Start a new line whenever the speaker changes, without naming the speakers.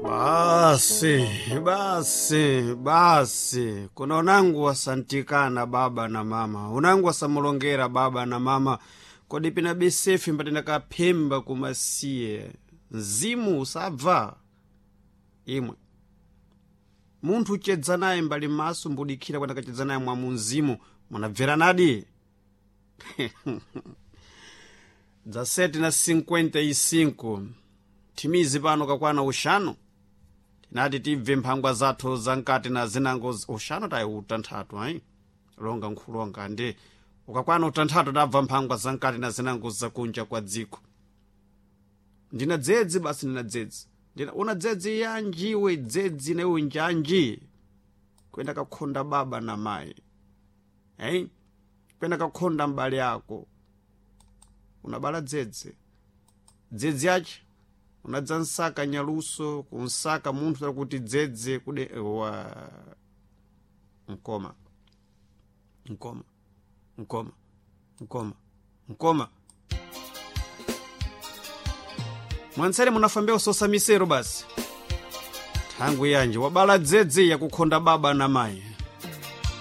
Basi basi basi, kuna unangu wasantikana baba na mama, unangu wasamulongera baba na mama, kodi pina besefi mbatinakaphemba kumasiye mzimu usabva imwe munthu uchedza naye mbali maso mbudikhira kwenda kachedza naye mwa munzimu munabveranadi. Dza 7:55 thimizi pano kakwana uxanu tinati tibve mphangwa zathu zamkati na zinango uxanu tayi utanthatu ayi longa nkhulonga ndi ukakwana utanthatu tabva mphangwa zamkati na zinango zakunja kwa dziko. Ndina dzedzi basi, ndina dzedzi, ndina una dzedzi yanji we dzedzi na iwe njanji kwenda kakhonda baba na mayi hey? Kwenda kakhonda mbale ako unabala dzedzi dzedzi yache unadza nsaka nyaluso kunsaka munthu takuti dzedze kude wa mkoma mkoma mkoma mkoma mkoma mwansere munafambewo sosa misero basi thangwi yanji wabala dzedze yakukhonda baba na mayi.